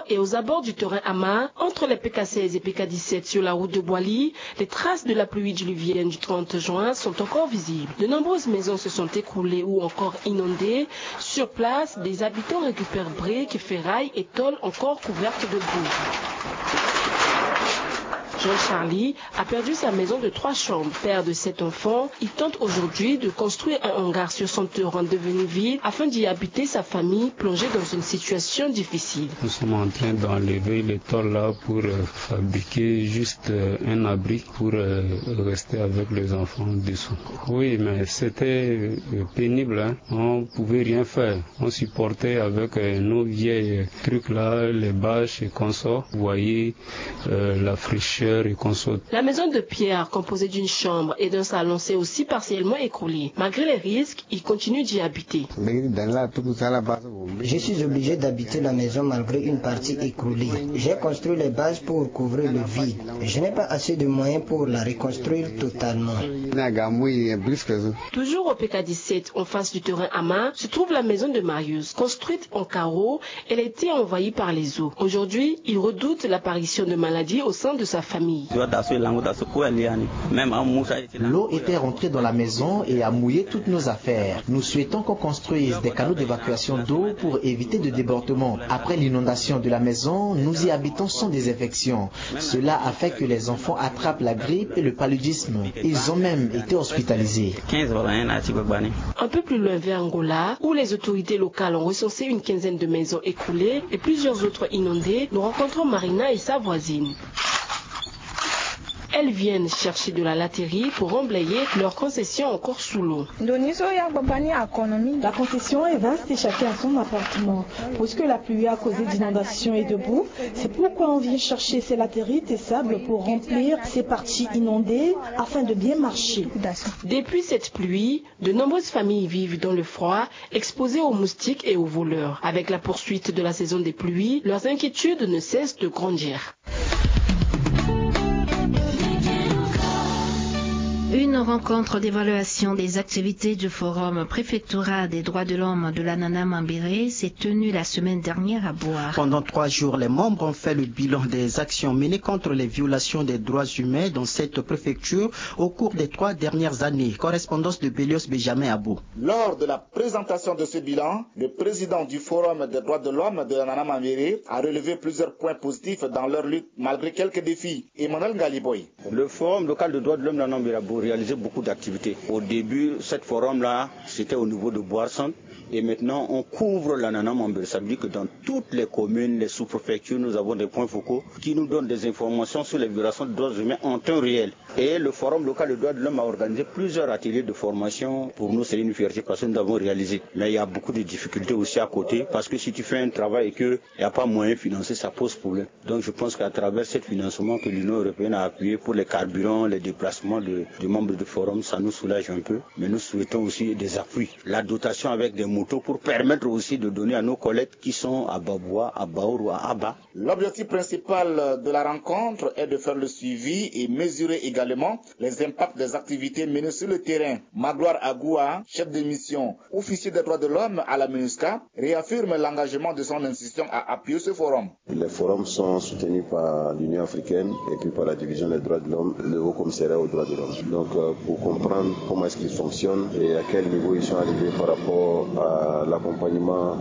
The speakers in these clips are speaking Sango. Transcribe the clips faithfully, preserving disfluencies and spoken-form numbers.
Et aux abords du terrain Ama, entre les P K seize et P K dix-sept sur la route de Boali, les traces de la pluie diluvienne du trente juin sont encore visibles. De nombreuses maisons se sont écroulées ou encore inondées. Sur place, des habitants récupèrent briques, ferrailles et tôles encore couvertes de boue. Jean Charlie a perdu sa maison de trois chambres. Père de sept enfants, il tente aujourd'hui de construire un hangar sur son terrain devenu vide afin d'y habiter sa famille plongée dans une situation difficile. Nous sommes en train d'enlever les tôles là pour euh, fabriquer juste euh, un abri pour euh, rester avec les enfants dessous. Oui, mais c'était euh, pénible, hein. On pouvait rien faire. On supportait avec euh, nos vieilles trucs là, les bâches et consorts. Vous voyez, euh, la fraîcheur et consorts. La maison de pierre, composée d'une chambre et d'un salon, s'est aussi partiellement écroulée. Malgré les risques, il continue d'y habiter. Je suis obligé d'habiter la maison malgré une partie écroulée. J'ai construit les bases pour couvrir le vide. Je n'ai pas assez de moyens pour la reconstruire totalement. Toujours au P K dix-sept, en face du terrain Ama, se trouve la maison de Marius, construite en carreaux. Elle a été envahie par les eaux. Aujourd'hui, il redoute l'apparition de maladies au sein de sa famille. L'eau était rentrée dans la maison et a mouillé toutes nos affaires. Nous souhaitons qu'on construise des canaux d'évacuation d'eau pour éviter de débordement. Après l'inondation de la maison, nous y habitons sans désinfection. Cela a fait que les enfants attrapent la grippe et le paludisme. Ils ont même été hospitalisés. Un peu plus loin, vers Angola, où les autorités locales ont recensé une quinzaine de maisons écroulées et plusieurs autres inondées, nous rencontrons Marina et sa voisine. Elles viennent chercher de la laterie pour emblayer leurs concessions encore sous l'eau. La concession est vaste et chacun a son appartement. Puisque la pluie a causé d'inondations et de boue, c'est pourquoi on vient chercher ces latérites et sable pour remplir ces parties inondées afin de bien marcher. Depuis cette pluie, de nombreuses familles vivent dans le froid, exposées aux moustiques et aux voleurs. Avec la poursuite de la saison des pluies, leurs inquiétudes ne cessent de grandir. Une rencontre d'évaluation des activités du Forum préfectoral des droits de l'homme de l'Anana Mambéré s'est tenue la semaine dernière à Boua. Pendant trois jours, les membres ont fait le bilan des actions menées contre les violations des droits humains dans cette préfecture au cours des trois dernières années. Correspondance de Belios Benjamin Abo. Lors de la présentation de ce bilan, le président du Forum des droits de l'homme de l'Anana Mambéré a relevé plusieurs points positifs dans leur lutte malgré quelques défis. Emmanuel Ngaliboy. Le Forum local de droits de l'homme de l'Anana Mambéré a réalisé beaucoup d'activités. Au début, ce forum-là, c'était au niveau de Boarson. Et maintenant, on couvre l'Anana Mambéré. Ça veut dire que dans toutes les communes, les sous-préfectures, nous avons des points focaux qui nous donnent des informations sur les violations de droits humains en temps réel. Et le Forum local de droits de l'homme a organisé plusieurs ateliers de formation. Pour nous, c'est une fierté parce que nous avons réalisé. Mais il y a beaucoup de difficultés aussi à côté, parce que si tu fais un travail et qu'il n'y a pas moyen financier, ça pose problème. Donc je pense qu'à travers ce financement que l'Union européenne a appuyé pour les carburants, les déplacements de, de membres du Forum, ça nous soulage un peu. Mais nous souhaitons aussi des appuis. La dotation avec des motos pour permettre aussi de donner à nos collègues qui sont à Baboua, à Baour ou à Aba. L'objectif principal de la rencontre est de faire le suivi et mesurer également les impacts des activités menées sur le terrain. Magloire Agoua, chef de mission, officier des droits de l'homme à la MINUSCA, réaffirme l'engagement de son institution à appuyer ce forum. Les forums sont soutenus par l'Union africaine et puis par la Division des droits de l'homme, le Haut Commissariat aux droits de l'homme. Donc, euh, pour comprendre comment est-ce qu'ils fonctionnent et à quel niveau ils sont arrivés par rapport à l'accompagnement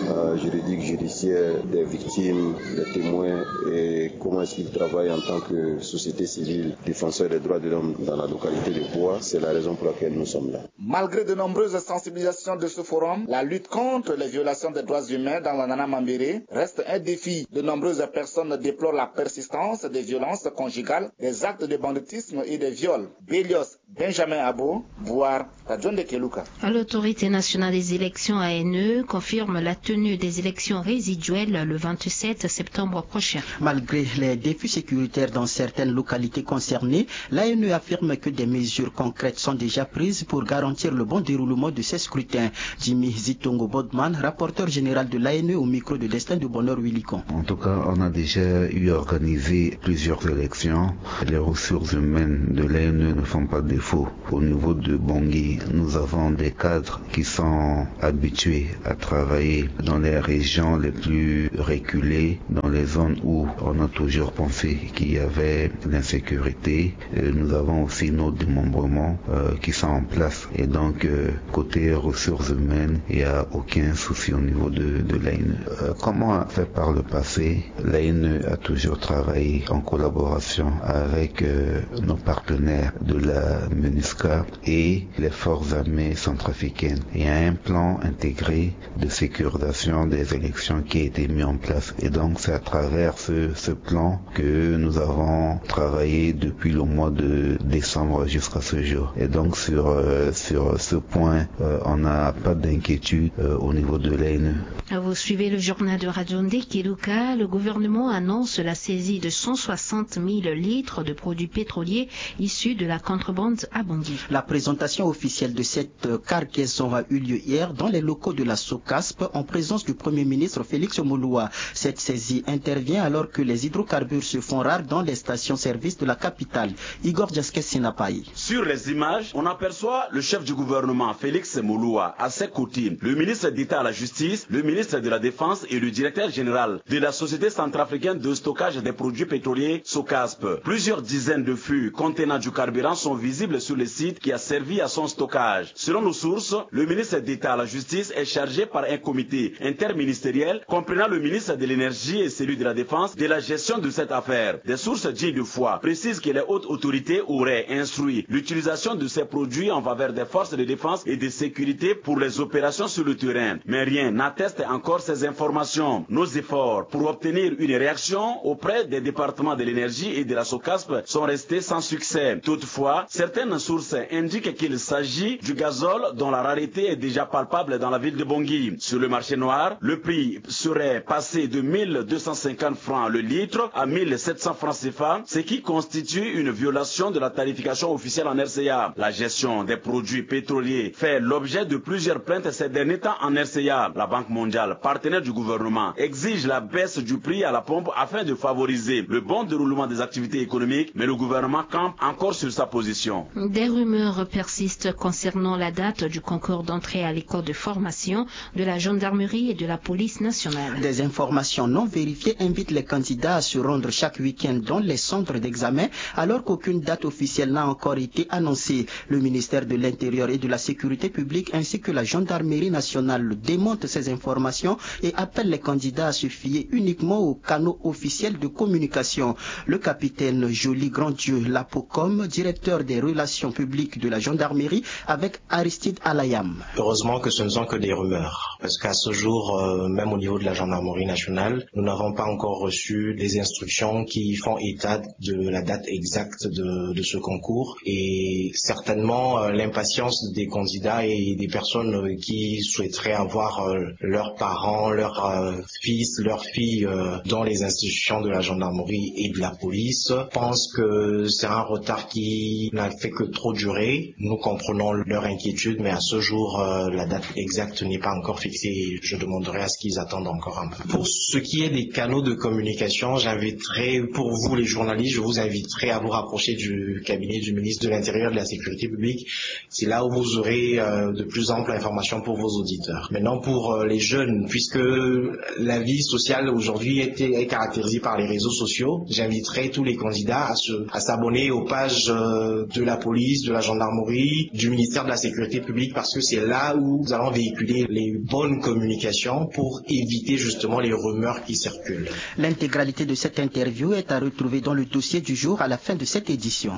euh, juridique, judiciaire des victimes, des témoins et comment est-ce qu'ils travaillent en tant que société civile, défenseurs des droits de l'homme dans la localité de Boua, c'est la raison pour laquelle nous sommes là. Malgré de nombreuses sensibilisations de ce forum, la lutte contre les violations des droits humains dans l'Anana Mambéré reste un défi. De nombreuses personnes déplorent la persistance des violences conjugales, des actes de banditisme et des viols. Belios Benjamin Abo, Boua, Radio Ndekeluka. L'Autorité nationale des élections, A N E, confirme la tenue des élections résiduelles le vingt-sept septembre prochain. Malgré les défis sécuritaires dans certaines localités concernées, l'A N E affirme que des mesures concrètes sont déjà prises pour garantir le bon déroulement de ces scrutins. Jimmy Zitongo Bodman, rapporteur général de l'A N E au micro de Destin de Bonheur Willicon. En tout cas, on a déjà eu organisé plusieurs élections. Les ressources humaines de l'A N E ne font pas défaut. Au niveau de Bangui, Nous avons des cadres qui sont habitués à travailler dans les régions les plus reculées, dans les zones où on a toujours pensé qu'il y avait l'insécurité. Euh, nous avons aussi nos démembrements, euh, qui sont en place. Et donc, euh, côté ressources humaines, il n'y a aucun souci au niveau de, de l'A N E. Euh, comme on a fait par le passé, l'A N E a toujours travaillé en collaboration avec, euh, nos partenaires de la MINUSCA et les forces armées centrafricaines. Il y a un plan intégré de sécurisation des élections qui a été mis en place. Et donc, c'est à travers ce, ce plan que nous avons travaillé depuis le mois de décembre jusqu'à ce jour. Et donc, sur, euh, sur ce point, euh, on n'a pas d'inquiétude, euh, au niveau de l'A N E. Vous suivez le journal de Radio Nde Keluka. Le gouvernement annonce la saisie de cent soixante mille litres de produits pétroliers issus de la contrebande à Bangui. La présentation officielle de cette, euh, cargaison a eu lieu hier dans les locaux de la SOCASP en présence du Premier ministre Félix Moloua. Cette saisie intervient alors que les hydrocarbures se font rares dans les stations-service de la capitale. Igor Diaskes Sinapayi. Sur les images, on aperçoit le chef du gouvernement, Félix Moloua. À ses côtés, le ministre d'État à la Justice, le ministre de la Défense et le directeur général de la Société centrafricaine de stockage des produits pétroliers, SOCASP. Plusieurs dizaines de fûts contenant du carburant sont visibles sur le site qui a servi à son stockage. Selon nos sources, le ministre d'État à la Justice est chargé par un comité interministériel comprenant le ministre de l'Énergie et celui de la Défense de la gestion de cette affaire. Des sources dignes de foi précisent que les hautes autorités auraient instruit l'utilisation de ces produits en faveur des forces de défense et de sécurité pour les opérations sur le terrain. Mais rien n'atteste encore ces informations. Nos efforts pour obtenir une réaction auprès des départements de l'Énergie et de la SOCASP sont restés sans succès. Toutefois, certaines sources indiquent qu'il s'agit du gazole dont la rareté est déjà palpable dans la ville de Bangui. Sur le marché noir, le prix serait passé de mille deux cent cinquante francs le litre à mille sept cents francs CFA, ce qui constitue une violation de la tarification officielle en R C A. La gestion des produits pétroliers fait l'objet de plusieurs plaintes ces derniers temps en R C A. La Banque mondiale, partenaire du gouvernement, exige la baisse du prix à la pompe afin de favoriser le bon déroulement des activités économiques, mais le gouvernement campe encore sur sa position. Des rumeurs persistent concernant la date du concours d'entrée à l'école de formation de la gendarmerie et de la police nationale. Des informations non vérifiées invitent les candidats à se rendre chaque week-end dans les centres d'examen, alors qu'aucune date officielle n'a encore été annoncée. Le ministère de l'Intérieur et de la Sécurité publique ainsi que la gendarmerie nationale démentent ces informations et appellent les candidats à se fier uniquement aux canaux officiels de communication. Le capitaine Joly Grandieu Lapocom, directeur des relations publiques de la gendarmerie, avec Aristide Alayam. Heureusement que ce ne sont que des rumeurs, parce qu'à ce jour, euh, même au niveau de la gendarmerie nationale, nous n'avons pas encore reçu les instructions qui font état de la date exacte de, de ce concours. Et certainement, euh, l'impatience des candidats et des personnes, euh, qui souhaiteraient avoir, euh, leurs parents, leurs, euh, fils, leurs filles, euh, dans les institutions de la gendarmerie et de la police, pensent que c'est un retard qui n'a fait que trop durer. Nous comprenons leur inquiétude, mais à ce jour, euh, la date exacte n'est pas encore fixée. Je demanderai à ce qu'ils attendent encore un peu. Pour ce qui est des canaux de communication, j'inviterai, pour vous les journalistes, je vous inviterai à vous rapprocher du cabinet du ministre de l'Intérieur et de la Sécurité publique. C'est là où vous aurez, euh, de plus amples informations pour vos auditeurs. Maintenant, pour, euh, les jeunes, puisque la vie sociale aujourd'hui est, est caractérisée par les réseaux sociaux, j'inviterai tous les candidats à se, à s'abonner aux pages, euh, de la police, de la gendarmerie, du ministère de la Sécurité publique, parce que c'est là où nous allons véhiculer les bonnes communications pour éviter justement les rumeurs qui circulent. L'intégralité de cette interview est à retrouver dans le dossier du jour à la fin de cette édition.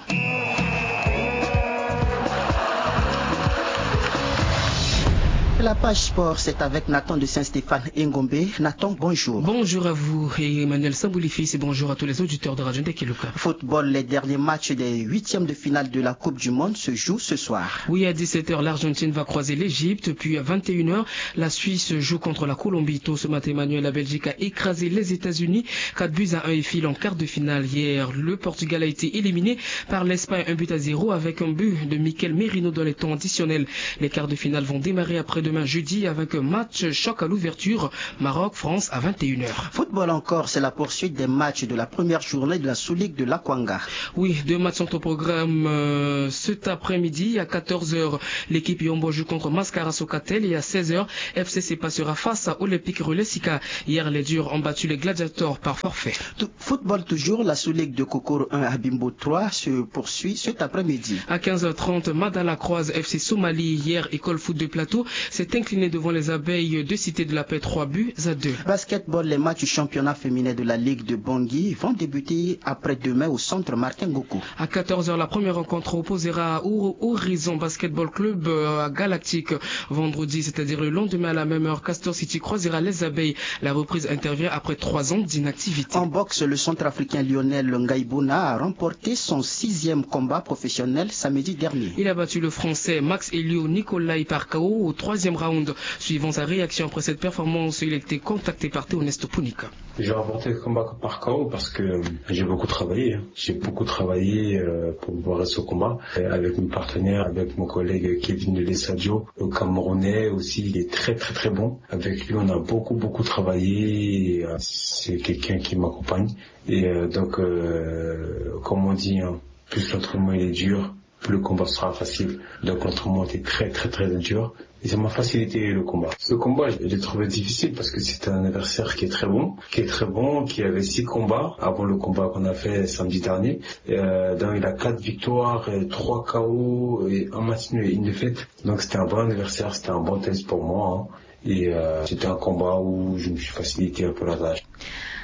La page sport, c'est avec Nathan de Saint-Stéphane Ngombe. Nathan, bonjour. Bonjour à vous et Emmanuel Sambouli Fils et bonjour à tous les auditeurs de Radio Nde Keluka. Football, les derniers matchs des huitièmes de finale de la Coupe du Monde se jouent ce soir. Oui, à dix-sept heures, l'Argentine va croiser l'Égypte, puis à vingt et une heures, la Suisse joue contre la Colombie. Tôt ce matin, Emmanuel, la Belgique a écrasé les États-Unis, quatre buts à un, et file en quart de finale. Hier, le Portugal a été éliminé par l'Espagne, un but à zéro, avec un but de Mikel Merino dans les temps additionnels. Les quarts de finale vont démarrer après-demain. Jeudi avec un match choc à l'ouverture, Maroc-France à vingt et une heures. Football encore, c'est la poursuite des matchs de la première journée de la Sous-Ligue de l'Akwanga. Oui, deux matchs sont au programme euh, cet après-midi. À quatorze heures, l'équipe Yombo joue contre Mascara Sokatel et à seize heures, F C C passera face à Olympique Relais Sika. Hier, les Durs ont battu les Gladiators par forfait. Football toujours, la Sous-Ligue de Kokoro un à Bimbo trois se poursuit cet après-midi. À quinze heures trente, Madala croise F C Somalie. Hier, École Foot de Plateau s'est inclinée devant les Abeilles de Cité de la Paix, trois buts à deux. Basketball, les matchs du championnat féminin de la Ligue de Bangui vont débuter après-demain au centre Martin Goku. À quatorze heures, la première rencontre opposera Horizon Basketball Club euh, à Galactique. Vendredi, c'est-à-dire le lendemain à la même heure, Castor City croisera les Abeilles. La reprise intervient après trois ans d'inactivité. En boxe, le centrafricain Lionel Ngaïbouna a remporté son sixième combat professionnel samedi dernier. Il a battu le Français Max Elio Nicolai par K O au troisième round. Suivant sa réaction après cette performance, il a été contacté par Théoneste Punika. J'ai remporté le combat par K O parce que j'ai beaucoup travaillé. J'ai beaucoup travaillé euh, pour préparer ce combat euh, avec mes partenaires, avec mon collègue Kevin Dele Sadio, le Camerounais aussi, il est très très très bon. Avec lui, on a beaucoup beaucoup travaillé. Euh, C'est quelqu'un qui m'accompagne. Et euh, donc, euh, comme on dit, hein, plus l'entraînement il est dur, plus le combat sera facile. Donc l'entraînement était très très très dur. Et ça m'a facilité le combat. Ce combat, je l'ai trouvé difficile parce que c'est un adversaire qui est très bon, qui est très bon, qui avait six combats avant le combat qu'on a fait samedi dernier. Euh, donc il a quatre victoires, euh, trois K O et un match nul et une défaite. Donc c'était un bon adversaire, c'était un bon test pour moi, hein. Et euh, c'était un combat où je me suis facilité un peu la tâche.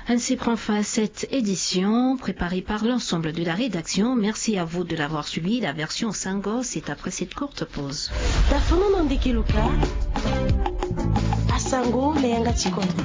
Ainsi prend fin cette édition préparée par l'ensemble de la rédaction. Merci à vous de l'avoir suivi. La version Sango, c'est après cette courte pause. Dafono na ndeke luka, asango na yanga ti kodro.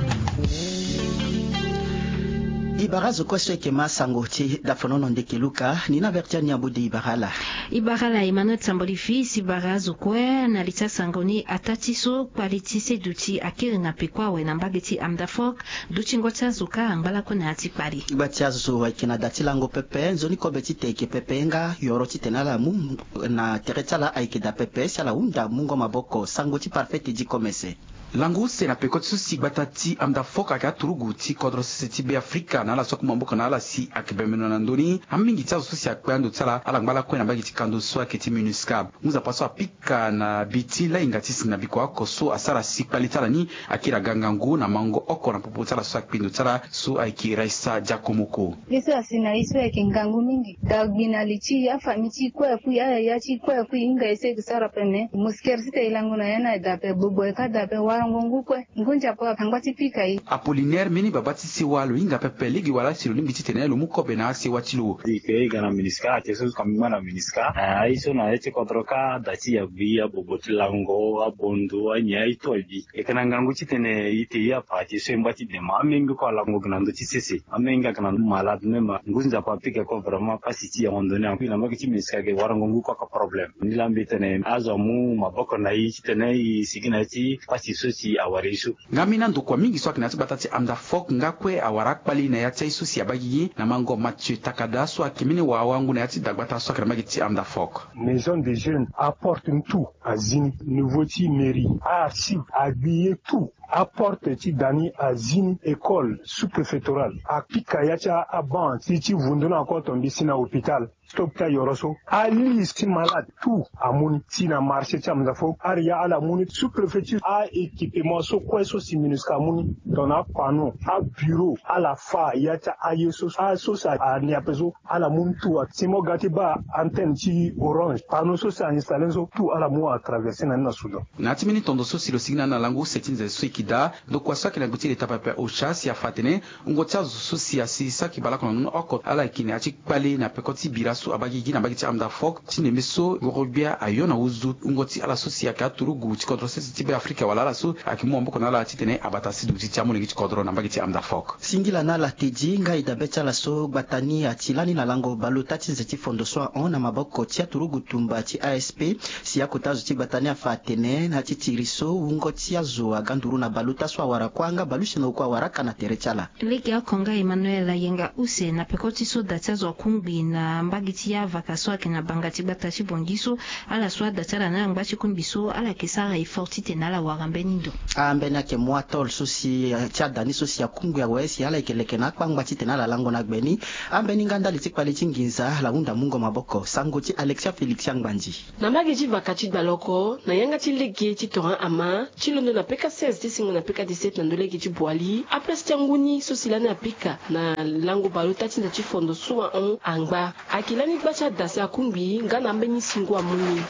Ibara zo kue so eke ma sango ti dafono na ndeke luka, ni na verti ani abo de ibara ala. Ibara ala Emmanuel Tamboli fils, ibara zo kue na li ti asango ni, ataa ti so kpali ti seduti akiri na peko awe na mbage ti Amdafok. Dutingo ti azo kâ angba lakue na ya ti kpali. Gba ti azo ayeke na da ti lango pepe, nzoni kobe ti te ayeke pepe nga yoro titene ala mu na tere ti ala ayeke daa pepe si ala hunda mungo maboko. Sango ti parfait ti di komese. Lango use na peko ti so si gbata ti Amdafok ayeke aturugu ti kodro sese ti Be Afrika na ala so akoma maboko na ala si ayeke bembeno na ndö ni. Amingi ti azo so si akpe ando ti ala, ala ngba lakue na mbage ti kando so ayeke ti MINUSCA. Ngu nzapa so apika na bi ti lainga ti si na biko oko so asara si kpali ti ala ni akiri aga ngangu na mango oko na popo ti ala so akpe ndo ti ala so ayeke Raisa Diakomoko. Ye so asi na ye so ayeke ngangu mingi. Da gbi na li ti afamille ti kue akui, ayaya ti kue akui, hinga ye so ayeke sara pene. Moskere ti te e lango na ya ni adape, gbogbo e ka dape, warango ngu kue. Ngu nzapa angba ti pika ye. Apollinaire mbeni baba ti sewa lo hinga pepe lege wala si lo lingbi titene lo mu kobe na asewa ti lo. E ke e ga na MINUSCA, ake so ka mbi ngba na MINUSCA. Eh, aye so na ya ti kodro kâ, da ti ya gbi, abobo ti lango, abondo, anyen, aye to abi. E ke na ngangu titene e te ye apa, ake so e ngba ti dema. Amenge kue alango gi na ndö ti sese. Amenge ayeke na ndö malade même. Ngu nzapa apika kue vraiment pasi ti yango ndoni. Ankui na mbage ti MINUSCA ayeke warango ngu kue aka problème. Ni la mbi tene azo amu maboko na e titene e sigi na ya ti pasi so si awara e so. Nga mbeni andokua mingi so ayeke na ya ti gbata ti Amdafok nga kue awara akpali na ya ti aye so si abaa gigi na mango Mathieu Takada so ayeke mbeni wawangu na ya ti dagbata so ayeke na mbage ti Amdafok. Maison des jeunes, aporte ni tout azi ni, niveau ti mairie, archive, agbi ye tout. Aporte ti da ni azi ni, école sous-préfectorale, apika ya ti a-, abanc ti, ti vundu ni ako tongbi si na hôpital. Stop ti ayoro so. Aliste ti malade tout amu ni. Si na marché ti Amdafok, ari ya ala mu ni. Sous-préfecture, a-équipement so kue so si MINUSCA amu ni, tongana apanneau, abureau, ala fa ya ti aye so, aso si ania ape so, ala mu ni tout. Si mo ga ti baa antenne ti Orange, panneau so si a installer ni so, tout ala mu atraverser na ni na Soudan. Na ya ti mbeni tondo so si lo sigi na ni na lango use ti nze so e yeke daa, ndokua so ayeke na gbe ti leta pepe OCHA si afa atene wungo ti azo so si asi saki bale oko na ndö ni oko, ala yeke na ya ti kpale na peko ti bira so abaa gigi na mbage ti Amdafok, ti ndembe so ngoro-gbia ayo na huzu wungo ti ala so si ayeke aturugu ti kodro sese ti Be Afrika wala ala so ayeke mu maboko na ala titene abata siduti ti amolenge ti kodro na mbage ti Amdafok. Singila na ala tedi nga e dabe ti ala so gbata ni ati lani na lango baleota ti nze ti fondo so ahon na maboko ti aturugu tumba ti A S P, si akota zo ti gbata ni afa atene na ya ti tiri so wungo ti azo aga nduru na Baluta so awara kuâ nga balusiengo kue awara aka na tere ti ala. Lege oko nga Emmanuel ayenga use na peko ti so da ti azo akungbi na mbage ti avaka so ayeke na banga ti gbata ti Bangui so, ala so ada ti ala na ala ngba ti kungbi so ala yeke sara effort titene ala wara mbeni ndo. Ambeni ayeke mu atol so si ti ada ni so si akungbi awe si ala yeke leke na akpangba titene ala lango na gbe ni. Ambeni nga ndali ti kpale ti nginza ala hunda mungo maboko. Sango ti Alexia Félix Angbandi. Na mbage ti vaka ti gbala oko na yanga ti lege ti Torin Ama ti londo na peka seize ti singo na peka dix-sept na ndo lege ti Boali, aplace ti angu ni so si lani apika na lango baleota ti nda ti fondo so ahon angba. Ayeke lani gba ti ada si akungbi nga na ambeni singo amu ni.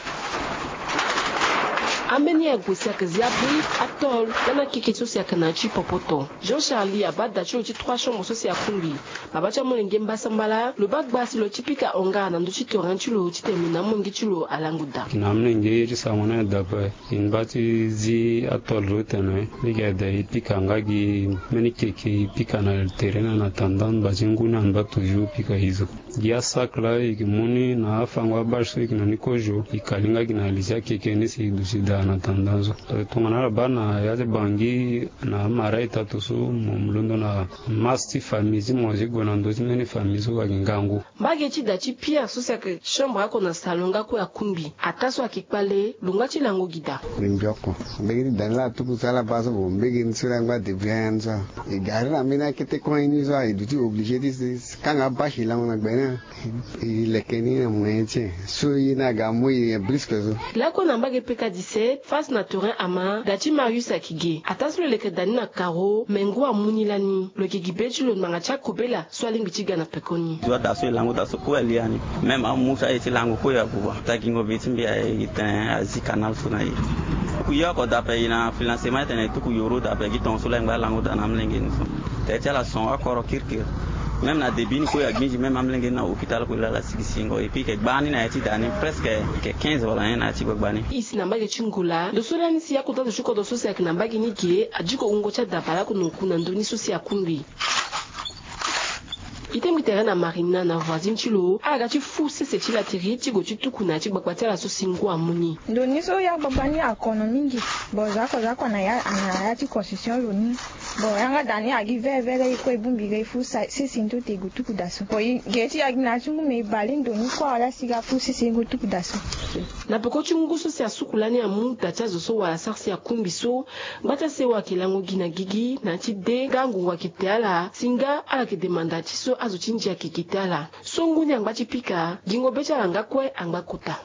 Ambeni ague si ayeke zi abri, atol nga na akeke so si ayeke na ya ti popoto. Jean Charlie abaa da ti lo ti trois chambre so si akungbi. Baba ti amolenge mbasambala lo baa gba si lo ti pika honga na ndö ti torin ti lo titene lo na amolenge ti lo alango daa. Na amolenge ye ti sango ni adape. E ngba ti zi atol so tene lege ada e pika nga gi mbeni keke e pika na tere ni na tanda ngba ti ngu ni angba toujours pika e zo. Gi asak laa e yeke mu ni na afango abâche so e yeke na ni kozo e kali nga gi na li ti akeke ni si e duti daa na tanda so. Tongana ala baa na ya ti Bangui na amara etato so mo londo na masse ti famille ti mo si gue na ndö ti mbeni famille so ayeke ngangu. Mbage ti da ti Pierre so si ayeke chambre oko na salon nga kue akungbi. Ataa so ayeke kpale lo ngba ti lango gi daa. Mbi oko mbege ti da ni laa atuku so ala baa so bo mbege ni so laa ngba débrouiller ni so. E gari na mbeni akete kue ni so e duti obligé ti kanga abâche e lango na gbe ni. E leke ni na moyen ti e so ye ni aga amu e brisque so. Lakue na mbage peka dix-sept face na torin ama da ti Marius ayeke ge. Ataa so lo leke da ni na karo me ngu amu ni lani lo yeke gi be ti lo ngbanga ti akobela so alingbi ti ga na pekoni. Zo ada so e lango da so kue alia ni. Même amu so aye ti lango kue abuba ta gingo be ti mbi aye e tene azi kanal so na e. Tuku ye oko dape e na financement ti tene e tuku yoro dape gi tongo so laa e ngba lango da na amolenge ni so. Tere ti ala son oko ro kirikiri. Même na début ni kue agbinzi même amolenge ni na hôpital kue laa ala sigi singo et puis e ke gbani na ya ti da ni presque e ke quinze wala nyen na ya ti gbagba ni. E si na mbage ti ngola ndo so lani si akota zo ti kodro so si ayeke na mbage ni ge adiko wungo ti adabala oko na oku na ndö ni so si akungbi. E tengbi tere na marina na voisine ti lo ala ga ti fu sese ti latiri ti gue ti tuku na ya ti gbagba ti ala so si ngu amu ni. Ndo ni so ya gbagba ni akono mingi. Bon zo oko zo oko na ya na ya ti construction lo ni. Bon yanga da ni agi vere vere e kue e bongbi ga e fu sese ni to te e gue tuku da so. Bon e ge ti agi na ya ti ngu me e bale ndo ni kue ala si ga fu sese e gue tuku da so. Na peko ti ngu so si asuku lani amu da ti azo so wala sara si akungbi so. Ngba ti asewa ayeke lango gi na gigi na ya ti de nga ngongo ayeke te ala si nga ala yeke demanda ti so azo ti ndia ayeke gi te ala. So ngu ni angba ti pika gingo be ti ala nga kue angba kota.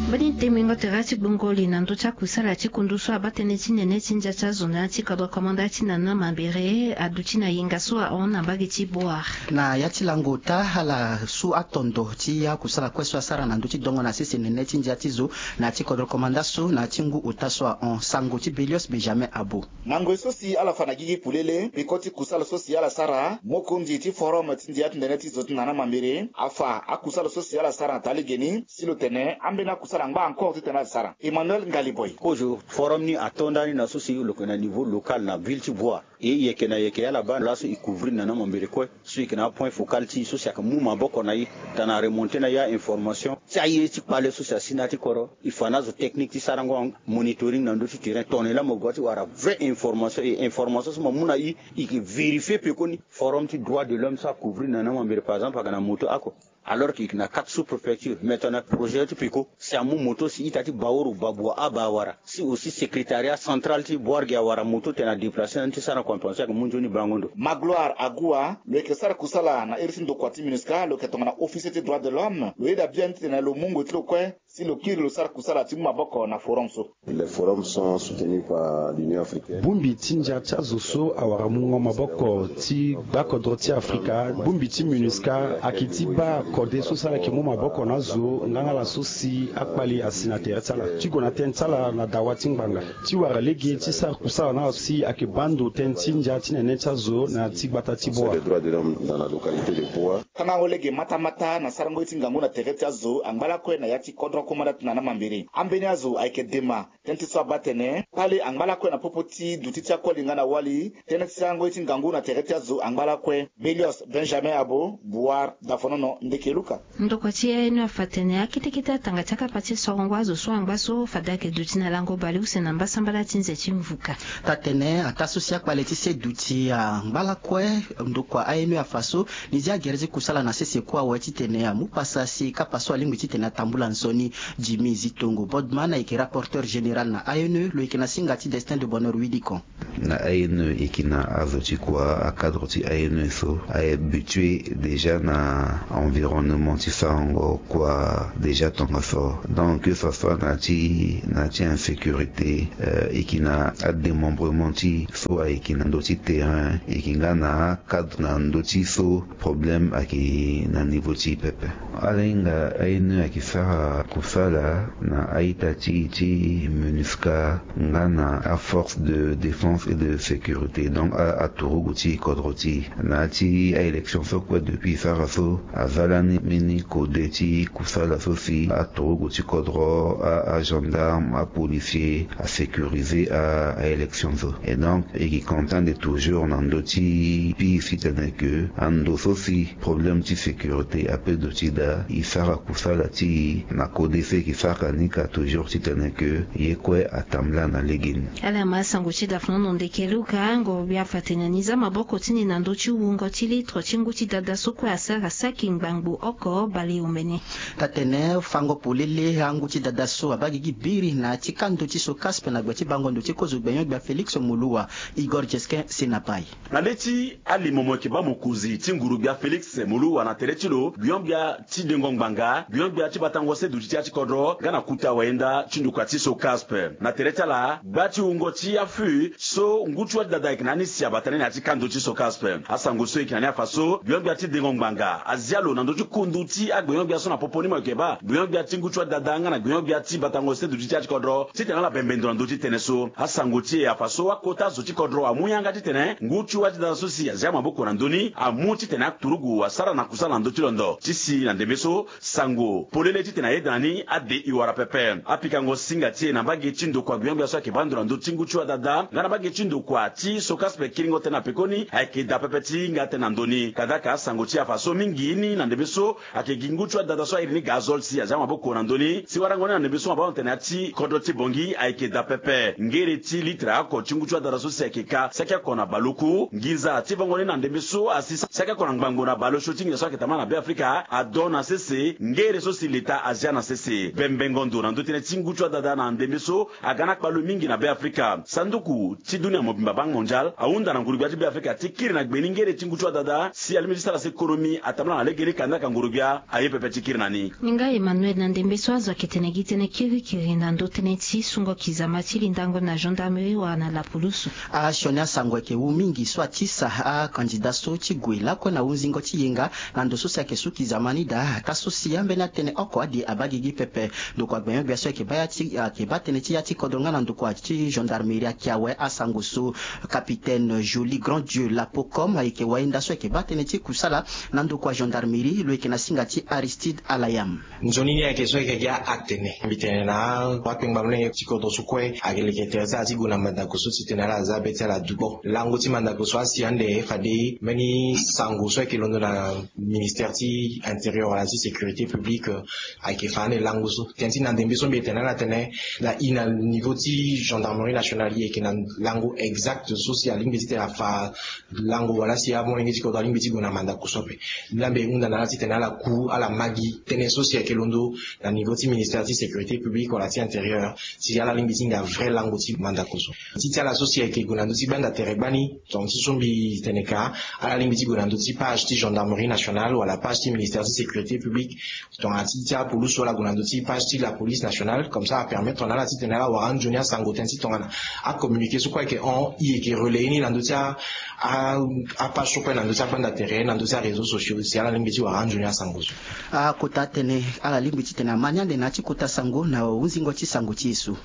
Mbeni temingo tere ti gbongoli na ndö ti akusala ti kundu so abaa tënë ti nene ti ndia ti azo na ya ti kodro komanda ti nana mambere aduti na yenga so ahon na mbage ti boire. Na ya ti lango ota ala su atondo ti akusala kue so asara na ndö ti dongo na sese nene ti ndia ti zo na ya ti kodro komanda so na ya ti ngu ota so ahon sango ti Belios Benjamin Abo. Na ngoi so si ala fa na gigi polele peko ti kusala so si ala sara mokonzi ti forum ti ndia ti ndene ti zo ti nana mambere afa akusala so si ala sara na taa legeni si lo tene ambeni akusala angba encore titene ala sara. Emmanuel Ngaliboy. Kozo forum ni ato ndani na so si lo yeke na niveau local na ville ti boire. E yeke na yeke ala baa laso e couvrir na na mambere kue. So e yeke na apoint focal ti e so si ayeke mu maboko na e tana remonter na e a-information ti aye ti kpale so si asi na ya ti kodro. E fa na azo technique ti sarango monitoring na ndö ti terrain tongana e laa mo gue ti wara vrai information e information so mo mu na e. E yeke vérifier pekoni forum ti droit de l'homme so acouvrir na na mambere par exemple ayeke na moto oko. Alors que e yeke na quatre sous-préfecture mais tongana projet ti peko si amu moto si ita ti baoro babua aba awara si aussi secrétariat central ti boire ge awara moto tena déplacer na ni ti sara na compensation ayeke mu nzoni bango ndo. Magloire Agoua lo yeke sara kusala na iri ti ndokua ti MINUSCA lo yeke tongana officier ti droit de l'homme lo yeda biani titene lo mu ngoi ti lo kue si lo kiri lo sara kusala ti mu maboko na forum so. Les forums sont soutenus par l'Union africaine. Bongbi ti ndia ti azo so awara mungo maboko ti gbakodro ti Afrika. Bongbi ti MINUSCA ayeke ti baa kode so si ala yeke mu maboko na azo nga na ala so si akpali asi na tere ti ala ti gue na tënë ti ala na dawa ti ngbanga ti wara lege ti sara kusala na ala so si ayeke baa ndo tënë ti ndia ti nene ti azo na ya ti gbata ti Boa. Sur les droits de l'homme dans la localité de Boa. Tangango lege matamata na sarango ye ti ngangu na tere ti azo angba lakue na ya ti kodro. koma nda tena na mambere. Ambeni azo ayeke dema tënë ti so abaa atene kpale angba lakue na popo ti duti ti akoli nga na wali. Tënë ti sango ye ti ngangu na tere ti azo angba lakue. Belios Benjamin Abo, Buar, Dafonono, Ndeke Luka. Ndokua ti A N E afa tene akete kete atanga ti akapa ti sorongo azo so angba so fade ayeke duti na lango baleuse na mbasambala ti nze ti mvuka. Taa-tene ataa so si akpale ti se duti angba lakue. Ndokua A N E afa so ni zia gere ti kusala na sese kue awe titene amu pasa si kapa so alingbi titene atambula nzoni. Jimmy Zitongo Bodman ayeke rapporteur général na A N E, lo yeke na singa ti Destin de Bonheur Widikon. Na A N E e yeke na azo ti kua, acadre ti A N E so ahabitué déjà na environnement ti sarango kua déjà tongaso. Donc que ça soit na ti, na ti insécurité, euh, e yeke na adémembrement ti so ayeke na ndö ti terrain, e yeke nga na acadre na ndö ti so problème ayeke na niveau ti pepe. Ala hinga A N E ayeke sara kusala na a-ita ti, ti MINUSCA nga na aforce de défense et de sécurité, donc a, aturugu ti kodro ti e. Na ya ti a-élection so kue depuis e sara so, aza lani mbeni kode ti kusala so si aturugu ti kodro, a, agendarme, apolicier asécuriser a, a-élection so. Et donc e yeke contente toujours na ndö ti pays titene ke ando so si problème ti sécurité ape duti daa, e sara kusala ti e na kode so e yeke sara ni ka toujours titene ke ye kue atambula na legeni. Ala ma sango ti Dafonono Ndeke Luka, ngoro-gbia afa tene ni za maboko ti ni na ndö ti wungo ti litre ti ngu ti dada so kue asara saki ngbangbo oko baleomene. Taa-tene fango polele angu ti dada so abaa gigi biri na ya ti kando ti SOCASP na gbe ti bango ndo ti kozo gbenyo-gbia Félix Moloua, Igor Jesquin Senapai. Na le ti alimo mo yeke baa mokonzi ti nguru-gbia Félix Moloua na tere ti lo, gbenyo-gbia ti dengo ngbanga, gbenyo-gbia ti batango se duti ti ya ti kodro nga na kuta wayenda ti ndokua ti SOCASP. Na tere ti ala, gba ti wungo ti afu so ngu ti wa ti dada ayeke na ni si abata ni na ya ti kando ti SOCASP. Asango so e yeke na ni afa so gbenyo-gbia ti dengo ngbanga azia lo na ndö ti kundu ti agbenyo-gbia so na popo ni mo yeke baa gbenyo-gbia ti ngu ti wa ti dada nga na gbenyo-gbia ti batango se duti ti ya ti kodro titene ala bembe ndo na ndö ti tënë so. Asango ti e afa so akota zo ti kodro amu yanga titene ngu ti wa ti dada so si azia maboko na ndö ni amu titene aturugu asara na kusala na ndö ti londo ti si na ndembe so sango polele titene ayeda na ni ade e wara pepe. Apikango singa ti e na mbage ti ndokua gbenyo-gbia so ayeke baa ndo na ndö ti ngu ti wa dada nga na mbage ti ndokua ti SOCASP kiringo tënë na pekoni ayeke daa pepe ti hinga tënë na ndö ni. Kadaka asango ti e afa so mingi ni na ndembe so ayeke gi ngu ti wa dada so airi ni gazole si azia maboko na ndö ni si warango ni na ndembe so mo baa tene ya ti kodro ti Bangui ayeke daa pepe. Ngere ti litre oko ti ngu ti wa dada so si ayeke ka saki oko na baleoku. Nginza ti vongo ni na ndembe so asi saki oko na ngbangbo na baleosio ti nginza so ayeke tambula na Beafrika ado na sese ngere so si leta azia na sese. Bembengo ndo na ndö tënë ti ngu ti wa dada na ndembe so aga na akpale mingi na Beafrika. Sanduku ti dunia mobimba, Banque Mondiale, ahunda na nguru-gbia ti Beafrika ti kiri na gbe ni ngere ti ngu ti wa dada si alingbi ti sara si économie atambula na legeni, kandaka nguru-gbia aye pepe ti kiri na ni. Ni nga Emmanuel na ndembe so azo ayeke tene gi tënë kirikiri na ndö tënë ti sungo kizama ti lindango na gendarmerie wala na lapulusu. Asioni asango ayeke wu mingi so atisa akandida so ti gue lakue na hunzingo ti yenga na ndo so si ayeke su kizama ni daa. Ataa so si ambeni atënë oko ade abaa gigi pepe. Ndokua gbenyo-gbia so ayeke baa ya ti, ayeke baa tënë ti ya ti kodro nga na ndokua ti gendarmerie ayeke awe asango so. Capitaine Joly Grand Dieu Lapocom ayeke wayenda so ayeke baa tënë ti kusala na ndokua gendarmerie, lo yeke na singa ti Aristide Alayam. Nzoni ni ayeke so ayeke gi a-, atene mbi tene na akpengba molenge ti kodro so kue ayeke leke tere ti ala ti gue na mandako so titene ala za be ti ala dukpo. Lango ti mandako so asi ande fade mbeni sango so ayeke londo na ministère ti intérieur wala ti sécurité publique, euh, ayeke fa ande lango so. Tënë ti na ndembe so mbi yeke tene na ala tene na i na niveau ti gendarmerie nationale i yeke na lango exact so si alingbi titene afa lango wala si amolenge ti kodro alingbi ti gue na mandako so ape. Ni la mbi hunda na ala titene ala ku ala ma gi tënë so si ayeke londo na niveau ti ministère ti sécurité publique wala ti intérieur si ala lingbi ti hinga vrai lango ti mandako so. Ti ti ala so si ayeke gue na ndö ti gbanda tere gbani, tongana ti so mbi tene ka, ala lingbi ti gue na ndö ti page ti gendarmerie nationale wala page ti ministère ti sécurité publique. Tongana ti ti apulusu ala gue na ndö ti page ti la police nationale, comme ça apermettre na ala titene ala wara anzoni asango tënë ti tongana acommuniqué so kue ayeke hon i yeke relayer ni na ndö ti a, a, apage so kue na ndö ti agbanda tere na ndö ti aréseau sociaux si ala lingbi ti wara anzoni asango so. Akota tënë ala lingbi titene ama ni ande na ya ti kota sango na hunzingo ti sango ti e so.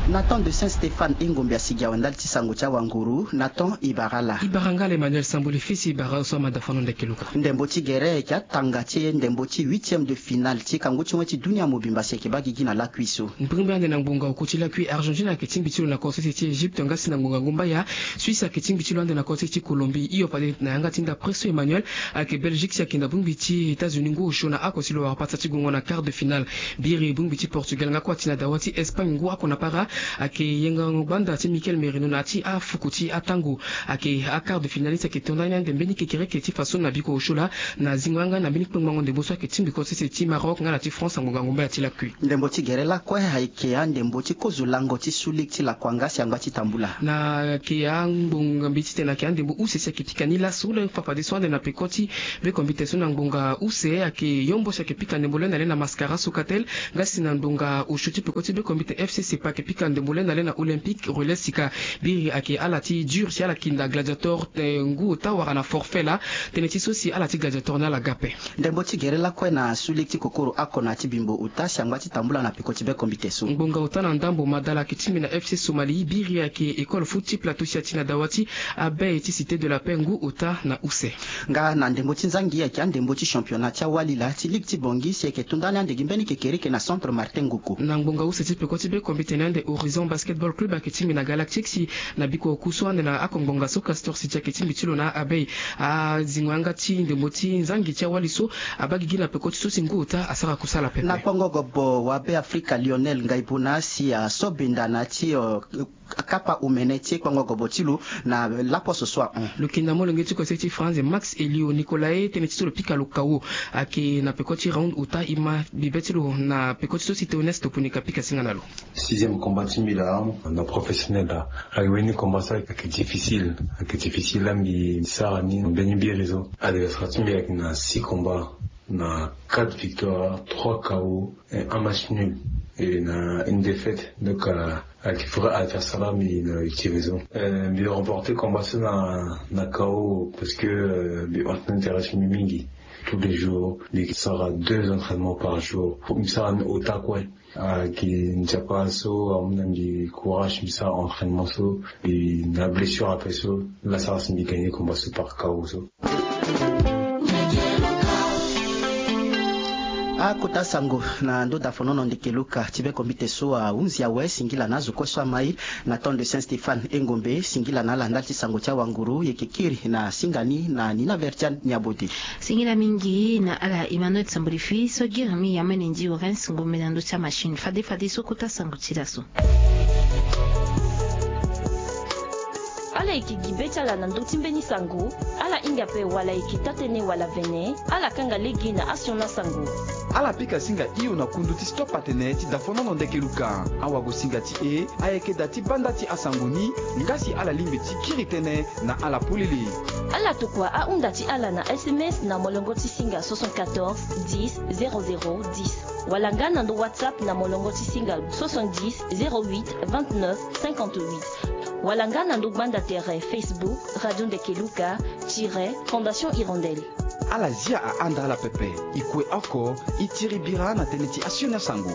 Nathan de Saint Stéphane Engombe asigi awe ndali ti sango ti awanguru. Nathan, i bara ala. I bara nga ala Emmanuel Samboli fils, i bara awe so amada fano ndeke luka. Ndembo ti gere ayeke atanga ti e ndembo ti huitième de finale ti kangu ti wen ti dunia mobimba si ayeke baa gigi na lakui so. Mbirimbiri ande na ngbonga oko ti lakui, Argentine ayeke tingbi ti lo na kosese ti Egypte, nga si na ngbonga ngumbaya Suisse ayeke tingbi ti lo ande na kosese ti Colombie. Hio fade na yanga ti nda presso Emmanuel, ayeke Belgique si ayeke na bongbi ti États-Unis ngu osio na ako si lo wara pasa ti gongo na quart de finale. Biri bongbi ti Portugal nga kue ati na dawa ti Espagne ngu ako na para. Ayeke yengango gbanda ti Michael Merino na ya ti afuku ti atango. Ayeke aquart de finaliste ayeke to ndani ande mbeni kekereke ti faso na biko osio laa na zingo yanga na mbeni kpengbango ndembo so ayeke tingbi kosese ti Maroc nga na ti France na ngbonga ngumbaya ti lakui. Ndembo ti gere lakue ayeke andembo ti kozo lango ti su ligue ti lakua nga si angba ti tambula. Na ayeke angbonga mbeti tene ayeke andembo use si ayeke pika ni laso laa fa fadeso ande na peko ti bekombite so na ngbonga use ayeke yombo si ayeke pika ndembo le na le na Mascara Socatel. Nga si na ngbonga osio ti peko ti bekombite FC Sepa ayeke pika ndembo le na le na Olympique Relais Sika. Biri ayeke ala ti dur si ala kinda Gladiator, eh, ngu ota wara na forfait laa. Tënë ti so si ala ti Gladiator ni ala ga ape. Ndembo ti gere lakue na su ligue ti kokoro ako na ya ti bimbo ota si angba ti tambula na peko ti bekombite so. Ngbonga ota na ndambo madala ayeke tingbi na FC Somali. Biri ayeke école foot ti Plateau si ati na dawa ti Abeille ti Cité de la Paix ngu ota na use. Nga na ndembo ti nzangi ayeke andembo ti championnat ti awali laa ti ligue ti Bangui si ayeke to ndani ande gi mbeni kekereke na Centre Martin Ngoko. Na ngbonga use ti peko ti bekombite ni ande Horizon Basketball Club ayeke tingbi na Galactique si na biko oku so ande na ako ngbonga so Castor City ayeke tingbi ti lo na Abeille. Azingo yanga ti ndembo ti nzangi ti awali so abaa gigi na peko ti so si ngu ota asara kusala pepe. Na kpongo gobo wa Be Afrika Lionel Ngaibona si aso benda na ya ti, eh, kapa omene ti kpongo gobo ti lo na laposo so ahon. Lo kinda molenge ti kose ti France Max Elio Nicolae tënë ti so lo pika lo K O ayeke na peko ti round ota. E ma bibe ti lo na peko ti so si Théoneste Toponika pika singa na lo. Sixième combat ti mbi laa na professionnel laa. Ayeke wini combat so ayeke difficile, ayeke difficile laa mbi sara ni mbeni biri so. Adversaire ti mbi ayeke na six combats, na quatre victoires, trois K O et un match nul. Et na une défaite. Donc, euh, ayeke vrai adversaire laa mbi na utiliser so. Euh, mbi remporter combat so na, na K O parce que, euh, mbi entraîne intéresse mbi mingi. Tous les jours mbi sara deux entraînements par jour. Mbi sara ni ota kue. Ayeke nzapa so amu na mbi courage mbi sara entraînement so. Mbi na blessure ape so la sara si mbi gagner combat so par K O so. Akota sango na ndo dafonono ndeke luka ti bekombite so ahunzi awe. Singila na azo kue so amai na temps de Saint Stéphane Engombe. Singila na ala ndali ti sango ti awanguru. Yeke kiri na singa ni na Nina Vertiane Niabode. Singila mingi na ala Emmanuel Sambolifi so giri mingi amene ndi Orens Ngombe na ndö ti amachine. Fade fade so kota sango ti laso. Ala yeke gi be ti ala na ndö ti mbeni sango. Ala hinga ape wala e yeke taa-tënë wala vene, ala kanga lege na asioni asango. Ala pika singa hio na kundu ti stop atene ti dafonono ndeke luka. Awagosinga ti e ayeke da ti banda ti asango ni. Nga si ala lingbi ti kiri tënë na ala polele. Ala tokua ahunda ti ala na S M S na molongo ti singa soixante-quatorze dix zéro zéro dix, wala nga na ndo WhatsApp na molongo ti singa soixante-dix zéro huit vingt-neuf cinquante-huit, wala nga na ndo gbanda tere Facebook Radio Ndeke Luka tiret Fondation Hirondelle. Ala zia ahanda ala pepe. E kue oko e tiri bira na tënë ti asioni asango.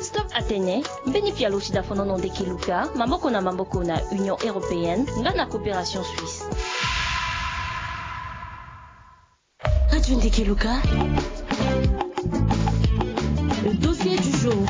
Stop atene, mbeni pialo ti dafonono ndeke luka maboko na maboko na Union Européenne nga na Coopération Suisse. Radio Ndeke Luka. Le dossier du jour.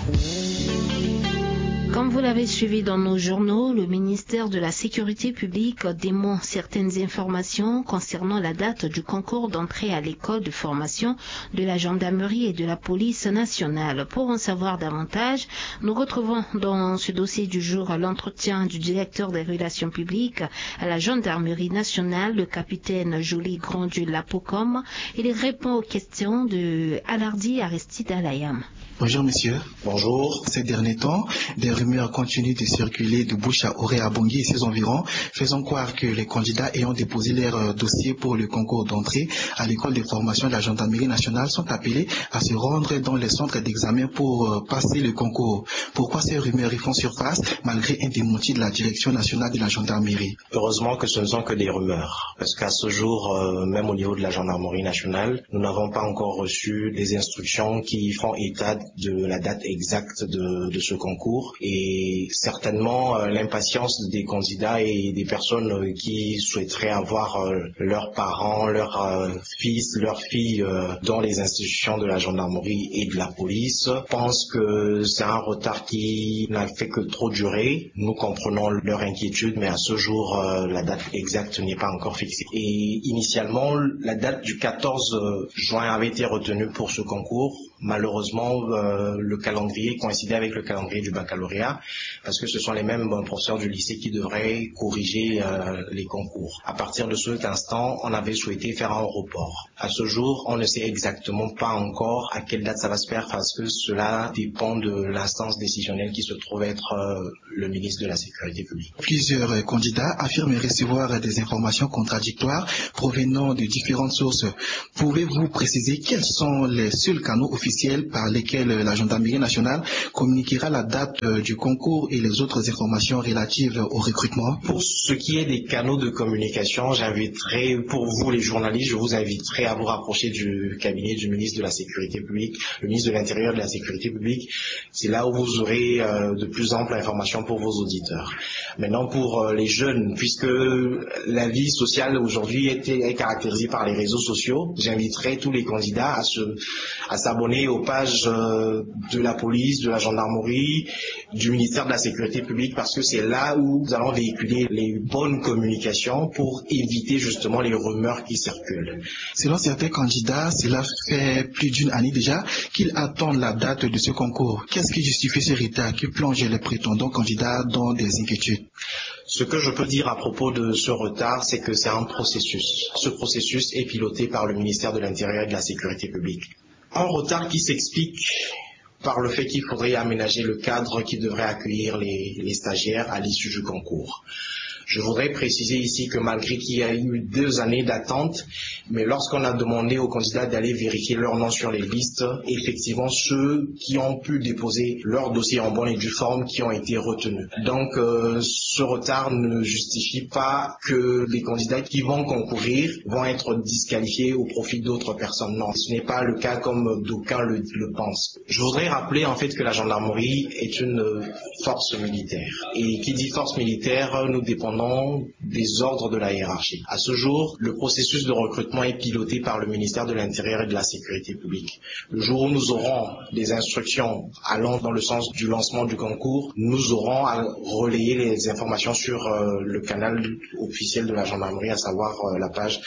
Comme vous l'avez suivi dans nos journaux, le ministère de la Sécurité publique dément certaines informations concernant la date du concours d'entrée à l'école de formation de la gendarmerie et de la police nationale. Pour en savoir davantage, nous retrouvons dans ce dossier du jour l'entretien du directeur des relations publiques à la gendarmerie nationale, le capitaine Joly Granddieu Lapocom. Il répond aux questions de Alardi Aristide Alayam. Bonjour monsieur. Bonjour. Ces derniers temps, des rumeurs continuent de circuler de bouche à oreille à Bangui et ses environs, faisant croire que les candidats ayant déposé leur, euh, dossier pour le concours d'entrée à l'école de formation de la gendarmerie nationale sont appelés à se rendre dans les centres d'examen pour, euh, passer le concours. Pourquoi ces rumeurs y font surface malgré un démenti de la Direction nationale de la gendarmerie ? Heureusement que ce ne sont que des rumeurs, parce qu'à ce jour, euh, même au niveau de la gendarmerie nationale, nous n'avons pas encore reçu des instructions qui font état de la date exacte de, de ce concours et certainement euh, l'impatience des candidats et des personnes euh, qui souhaiteraient avoir euh, leurs parents, leurs euh, fils, leurs filles euh, dans les institutions de la gendarmerie et de la police. Je pense que c'est un retard qui n'a fait que trop durer. Nous comprenons leur inquiétude, mais à ce jour, euh, la date exacte n'est pas encore fixée. Et initialement, la date du quatorze juin avait été retenue pour ce concours. Malheureusement, euh, le calendrier coïncidait avec le calendrier du baccalauréat, parce que ce sont les mêmes euh, professeurs du lycée qui devraient corriger euh, les concours. À partir de cet instant, on avait souhaité faire un report. À ce jour, on ne sait exactement pas encore à quelle date ça va se faire, parce que cela dépend de l'instance décisionnelle qui se trouve être euh, le ministre de la Sécurité publique. Plusieurs candidats affirment recevoir des informations contradictoires provenant de différentes sources. Pouvez-vous préciser quels sont les seuls canaux officiels par lesquels la gendarmerie nationale communiquera la date euh, du concours et les autres informations relatives au recrutement? Pour ce qui est des canaux de communication, j'inviterai, pour vous les journalistes, je vous inviterai à vous rapprocher du cabinet du ministre de la Sécurité publique, le ministre de l'Intérieur et de la Sécurité publique. C'est là où vous aurez euh, de plus amples informations pour vos auditeurs. Maintenant, pour euh, les jeunes, puisque la vie sociale aujourd'hui est, est caractérisée par les réseaux sociaux, j'inviterai tous les candidats à se, à s'abonner aux pages euh, de la police, de la gendarmerie, du ministère de la Sécurité publique, parce que c'est là où nous allons véhiculer les bonnes communications pour éviter justement les rumeurs qui circulent. Selon certains candidats, cela fait plus d'une année déjà qu'ils attendent la date de ce concours. Qu'est-ce qui justifie ce retard qui plonge les prétendants candidats dans des inquiétudes? Ce que je peux dire à propos de ce retard, c'est que c'est un processus. Ce processus est piloté par le ministère de l'Intérieur et de la Sécurité publique. Un retard qui s'explique par le fait qu'il faudrait aménager le cadre qui devrait accueillir les, les stagiaires à l'issue du concours. Je voudrais préciser ici que malgré qu'il y a eu deux années d'attente, mais lorsqu'on a demandé aux candidats d'aller vérifier leur nom sur les listes, effectivement, ceux qui ont pu déposer leur dossier en bonne et due forme qui ont été retenus. Donc, euh, ce retard ne justifie pas que les candidats qui vont concourir vont être disqualifiés au profit d'autres personnes. Non, ce n'est pas le cas comme d'aucuns le, le pensent. Je voudrais rappeler en fait que la gendarmerie est une euh, force militaire. Et qui dit force militaire, nous dépendons des ordres de la hiérarchie. À ce jour, le processus de recrutement est piloté par le ministère de l'Intérieur et de la Sécurité publique. Le jour où nous aurons des instructions allant dans le sens du lancement du concours, nous aurons à relayer les informations sur euh, le canal officiel de la gendarmerie, à savoir euh, la page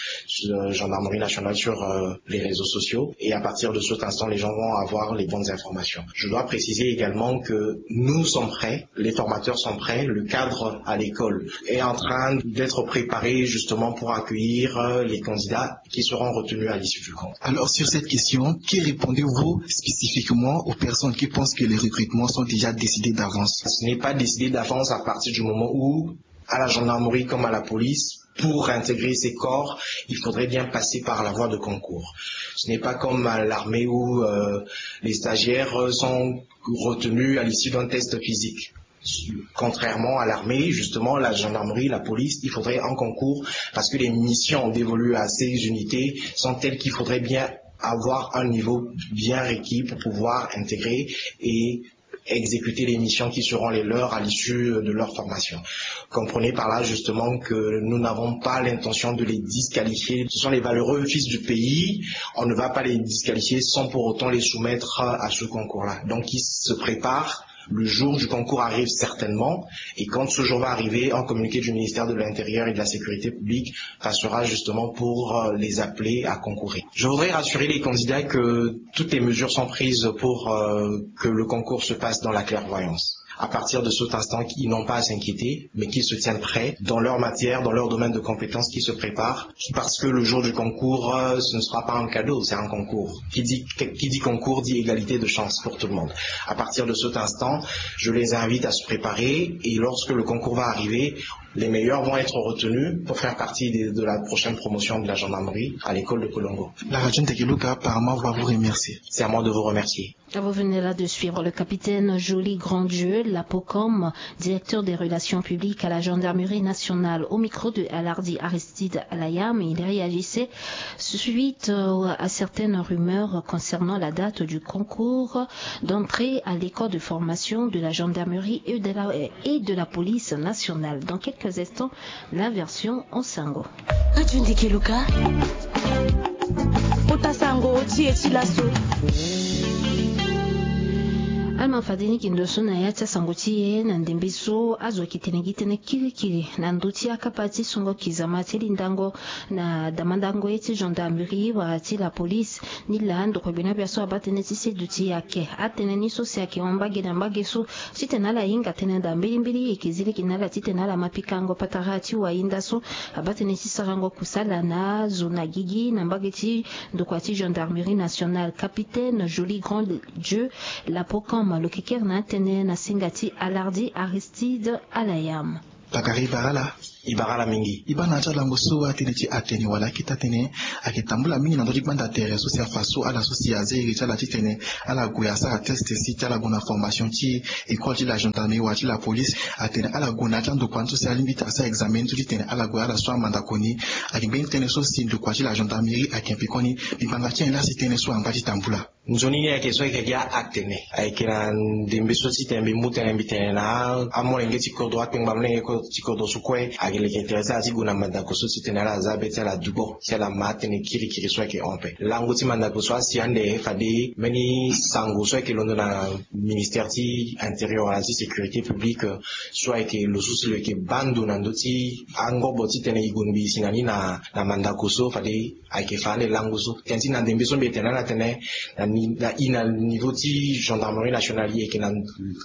euh, gendarmerie nationale sur euh, les réseaux sociaux. Et à partir de cet instant, les gens vont avoir les bonnes informations. Je dois préciser également que nous sommes prêts, les formateurs sont prêts, le cadre à l'école est en train d'être préparé justement pour accueillir euh, les candidats qui seront retenus à l'issue du concours. Alors, sur cette question, que répondez-vous spécifiquement aux personnes qui pensent que les recrutements sont déjà décidés d'avance? Ce n'est pas décidé d'avance à partir du moment où, à la gendarmerie comme à la police, pour intégrer ces corps, il faudrait bien passer par la voie de concours. Ce n'est pas comme à l'armée où euh, les stagiaires sont retenus à l'issue d'un test physique. Contrairement à l'armée, justement, la gendarmerie, la police, il faudrait un concours parce que les missions dévolues à ces unités sont telles qu'il faudrait bien avoir un niveau bien requis pour pouvoir intégrer et exécuter les missions qui seront les leurs à l'issue de leur formation. Comprenez par là justement que nous n'avons pas l'intention de les disqualifier. Ce sont les valeureux fils du pays. On ne va pas les disqualifier sans pour autant les soumettre à ce concours-là. Donc, ils se préparent. Le jour du concours arrive certainement, et quand ce jour va arriver, un communiqué du ministère de l'Intérieur et de la Sécurité publique passera justement pour euh, les appeler à concourir. Je voudrais rassurer les candidats que toutes les mesures sont prises pour euh, que le concours se passe dans la clairvoyance. À partir de cet instant, ils n'ont pas à s'inquiéter, mais qu'ils se tiennent prêts dans leur matière, dans leur domaine de compétences qui se prépare, parce que le jour du concours, euh, ce ne sera pas un cadeau, c'est un concours. Qui dit, qui dit concours dit égalité de chance pour tout le monde. À partir de cet instant, je les invite à se préparer et lorsque le concours va arriver, Les meilleurs vont être retenus pour faire partie de, de la prochaine promotion de la gendarmerie à l'école de Kolongo. La radio Ndeke Luka, par moi, va vous remercier. C'est à moi de vous remercier. Vous venez là de suivre le capitaine Joly Grandieu, l'APOCOM, directeur des relations publiques à la gendarmerie nationale, au micro de Alardi Aristide Alayam. Il réagissait suite, euh, à certaines rumeurs concernant la date du concours d'entrée à l'école de formation de la gendarmerie et de la, et de la police nationale. Dans quelques instants, la version en sango. Radio Ndeke Luka. Kota sango ti e ti laso. Alama fade ni yeke ndo so na ya ti asango ti e na ndembe so azo ayeke tene gi tënë kirikiri na ndö ti akapa ti songo kizama ti lindango na damandango ye ti gendarmerie wala ti la police. Ni laa ndokua gbenegbia so abaa tënë ti seduti ayeke atënë ni so si ayeke hon mbage na mbage so titene ala hinga tënë daa mbilimbili. E yeke zi lege na ala titene ala ma pikango patara ti wahinda so abaa tënë ti sarango kusala na azo na gigi na mbage ti ndokua ti gendarmerie nationale. Capitaine Joly Grandieu, l'APOCOM, lo yeke kere na atënë na singa ti Alardi Aristide Alayam. Bakari, e bara ala. E bara ala mingi. E baa na ya ti alango so atënë ti atene wala akete atene ayeke tambula mingi na ndö ti gbanda tere so si afa so ala so si aza iri ti ala titene ala gue asara test si ti ala gue na formation ti école ti la gendarmerie wala ti la police. Atene ala gue na ya ti andokua ni so si alingbi ti asara examen ni so titene ala gue ala su amandako ni. Ayeke mbeni tënë so si ndokua ti la gendarmerie ayeke pekoni. Mbi banga ti nyen laa si tënë so angba ti tambula? Nzoni ni ayeke so ayeke gi a-acte ni. Ayeke na ndembe so titene mbi mu tënë mbi tene na amolenge ti kodro, akpengba molenge ti kodro so kue ayeke leke tere ti ala ti gue na mandako so titene ala za be ti ala dubo si ala ma atënë kirikiri so ayeke hon ape. Lango ti mandako so asi ande fade mbeni sango so ayeke londo na ministère ti intérieur wala ti sécurité publique so ayeke lo so si lo yeke baa ndo na ndö ti angobo titene e gue mbi si na ni na mandako so fade ayeke fa ande lango so. Tënë ti na ndembe so mbi yeke tene ala tene na i na niveau ti gendarmerie nationale e yeke na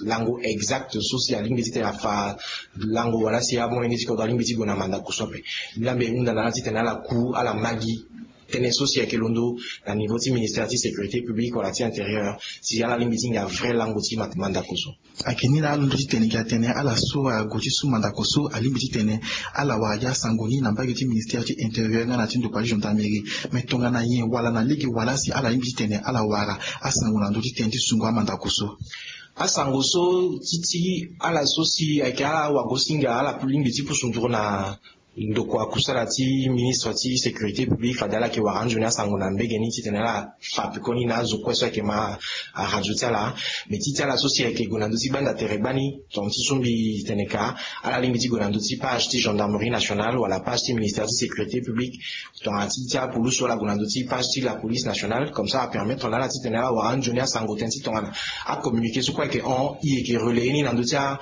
lango exact so si alingbi titene afa lango wala si amolenge ti kodro alingbi ti gue na mandako so ape. Ni laa mbi hunda na ala titene ala ku ala ma gi tënë so si ayeke londo na niveau ti ministère ti sécurité publique wala ti intérieur si ala lingbi ti hinga vrai lango ti mandako so. Ayeke ni laa alondo titene gi atene ala so ague ti su mandako so alingbi titene ala wara gi asango ni na mbage ti ministère ti intérieur nga na ti ndokua ti gendarmerie. Me tongana nyen wala na lege wala si ala lingbi titene ala wara asango na ndö ti tënë ti sungo amandako so? Asango so ti ti ala so si ayeke awagosinga ala lingbi ti pusu nduru na ndokua kusala ti ministre ti sécurité publique fade ala yeke wara anzoni asango na mbege ni titene ala fa pekoni na azo kue so ayeke ma aradio ti ala. Me ti ti ala so si ayeke gue na ndö ti gbanda tere gbani tongana ti so mbi tene ka ala lingbi ti gue na ndö ti page ti gendarmerie nationale wala page ti ministère ti sécurité publique. Tongana ti ti apulusu ala gue na ndö ti page ti la police nationale comme ça apermettre na ala titene ala wara anzoni asango tënë ti tongana acommuniqué so kue ayeke hon e yeke relayer ni na ndö ti a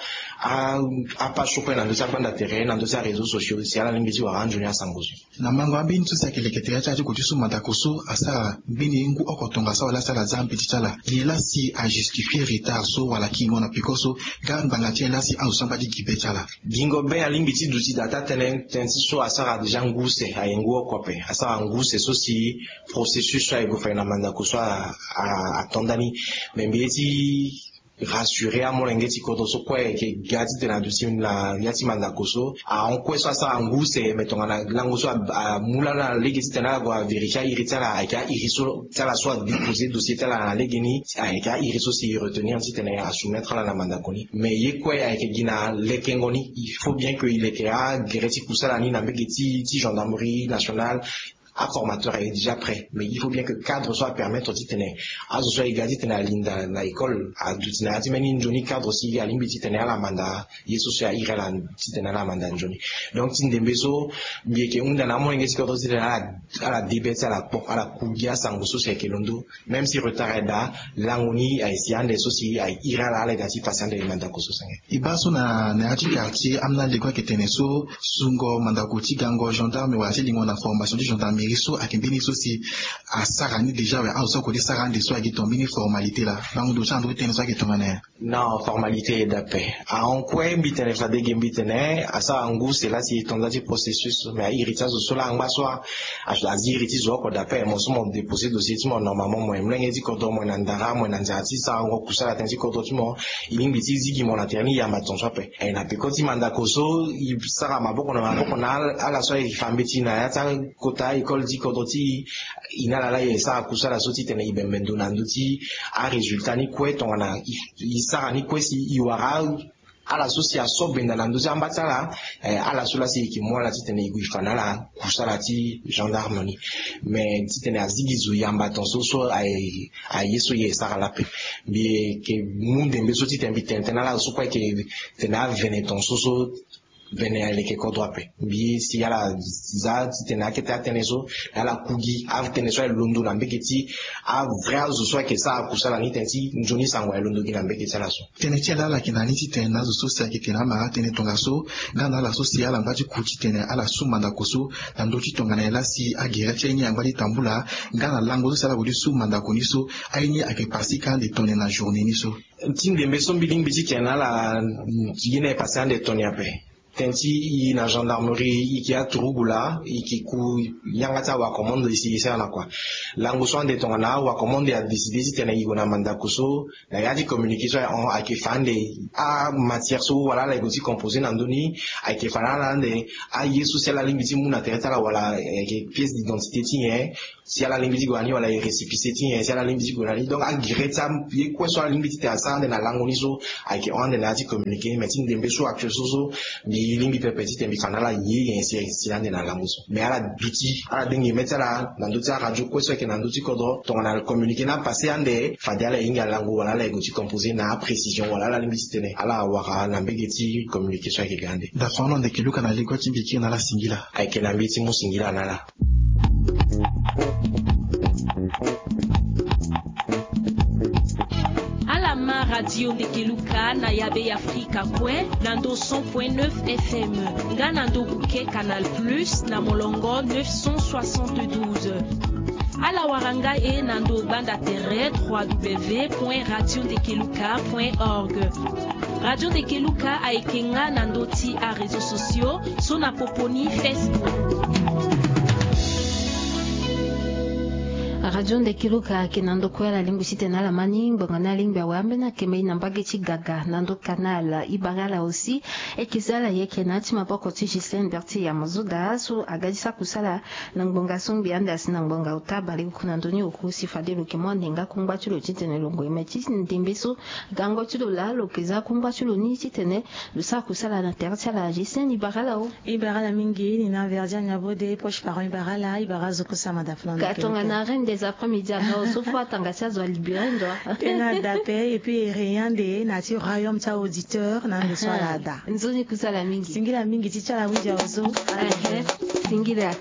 apage so kue na ndö ti agbanda tere na ndö ti aréseau sociaux si ala lingbi ti wara anzoni asango so. Na mango ambeni so si ayeke leke tere ti ala ti gue ti su mandako so asara mbeni ngu oko tongaso wala si ala za mbeti ti ala nyen laa si ajustifie retard so wala kingo na peko so? Ga ngbanga ti nyen laa si azo so angba ti gi be ti ala? Gingo be alingbi ti duti daa ti atene tënë ti so asara déjà ngu use aye ngu oko ape asara ngu use so si processus so aye gue fade na mandako so ato ndani. Me mbi ye ti rassurer amolenge ti kodro so kue ayeke ga titene aduti na ya ti mandako so ahon kue so asara ngu use me tongana lango so amu laa na lege titene ala gue avérifier airi ti ala ayeke airi so ti ala so adéposer dossier ti ala na lege ni ayeke airi so si e retenir titene asoumettre ala na mandako ni. Mais ye kue ayeke gi na lekengo ni il faut bien que e leke agere ti kusala ni na mbege ti gendarmerie nationale. Aformateur aye déjà prêt mais il faut bien que cadre so apermettre titene azo so aye ga titene alinda na école aduti na ya ti mbeni nzoni cadre si alingbi titene ala manda ye so si airi ala titene ala manda nzoni. Donc ti ndembe so mbi yeke hunda na amolenge ti kodro titene ala debe ti ala kpo ala ku gi asango so si ayeke londo. Même si retard aye daa lango ni aye si ande so si aye iri ala ala ye daa ti pase ande na mandako so senge. E baa so na ya ti quartier ambeni alego ayeke tene so sungo mandako ti gango gendarme wala ti lingo na formation ti gendarmerie. Ye so ayeke mbeni so si asara ni déjà awe, azo so akode sara ande so ayeke tonga mbeni formalité laa. Bango ndo ti ando ti tënë so ayeke tongana nyen? Non, formalité ye dape. Ahon kue mbi tene fade ge mbi tene asara ngu sela si e tonda ti processus, mais ahiri ti azo so laa angba so a azi iri ti zo oko dape. Mo so mo déposer dossier ti mo normalement, mo ye molenge ti kodro, mo ye na ndara, mo ye na nzara ti sarango kusala tënë ti kodro ti mo. E lingbi ti zi gi mo na tere ni yamba tongaso ape. E na peko ti mandako so e sara maboko na maboko na ala so aye fa mbeti na ya ti akota école ti kodro ti e. E na ala laa e sara kusala so titene e bembe ndo na ndö ti arésultat ni kue tongana e sara ni kue si e wara ala so si aso benda na ndö ti amba ti ala. Eh, ala so laa si e yeke mu ala titene e gue e fa na ala kusala ti gendarme ni. Mais titene azi gi zo yamba tongaso so aye so ye e sara laa ape. Mbi yeke mu ndembe so titene mbi tene tënë na ala so kue ayeke tene avene tongaso so vene aleke kodro ape. Mbi si ala za titene akete atënë so na ala ku gi atënë so aye londo na mbege ti avrai azo so ayeke sara kusala ni tënë ti nzoni sango aye londo gi na mbege ti ala so. Tënë ti ala ala yeke na ni titene na azo so si ayeke tene amara atënë tongaso nga na ala so si ala ngba ti ku titene ala su mandako so na ndö ti tongana nyen laa si agere ti aye ni angba ti tambula nga na lango so si ala kodi su mandako ni so aye ni ayeke pasi ka ande tone na journée ni so. Ti ndembe so mbi lingbi ti tene na ala ye ni aye pasi ande tone ape. Tënë ti e na gendarmerie e yeke aturugu laa e yeke ku yanga ti awacommande e si e sara na kua. Lango so ande tongana awacommande adécide titene e gue na mandako so na ya ti communiqué so aye hon ayeke fa ande amatière so wala ala e gue ti composé na ndö ni. Ayeke fa na ala ande aye so si ala lingbi ti mu na tere ti ala wala ayeke pièce d'identité ti nyen si ala lingbi ti gue na ni wala e récépissé ti nyen si ala lingbi ti gue na ni. Donc agere ti aye kue so ala lingbi titene asara ande na lango ni so ayeke hon ande na ya ti communiqué. Mais ti ndembe so actuel so so mbi lingbi pepe titene mbi fa na ala ye nyen si si ande na lango so. Mais ala duti ala denge mê ti ala na ndö ti aradio kue so ayeke na ndö ti kodro tongana communiqué ni apasé ande fade ala hinga lango wala ala e gue ti composé na aprécision wala ala lingbi titene ala wara na mbege ti communiqué so ayeke ga ande. Dafa ono ndeke luka na legua ti mbi kiri na ala singila. Ayeke na mbi ti mu singila na ala. Ala ma radio ndeke luka na yabe ya afrika kue na ndo cent point neuf fm nga na ndo buke canal plus na molongo neuf cent soixante-douze. Ala wara nga e na ndo gbanda tere trois w point radio ndeke luka point org. Radio ndeke luka ayeke nga na ndo ti aréseau sociaux so na popo ni facebook. Radio ndeke luka ayeke na ndo kue ala lingbi titene ala ma ni ngbonga ni alingbi awe ambeni akembe e na mbage ti gaga na ndo canal. E bara ala aussi e yeke za ala yeke na ya ti maboko ti gislaine berti ya mozoda so aga ti sara kusala na ngbonga so ngbi ande asi na ngbonga ota baleoko na ndö ni oku si fade lo yeke mu ande nga kungba ti lo titene lo ngoi me ti ndembe so gango ti lo laa lo yeke za kungba ti lo ni titene lo sara kusala na tere ti ala. Gislaine e bara ala o. E bara ala mingi ni na verdiane ya bode poche parent e bara ala e bara azo kue sama dafa na ndo. Ka tongana reine des après-midi aga oso fo atanga ti azo alibere ndo. Tena dape et puis e rien de na ti royaume ti auditeur na ndo so ala ada. Nzoni kusala mingi. Singila mingi ti ti ala windia ozo. Singila.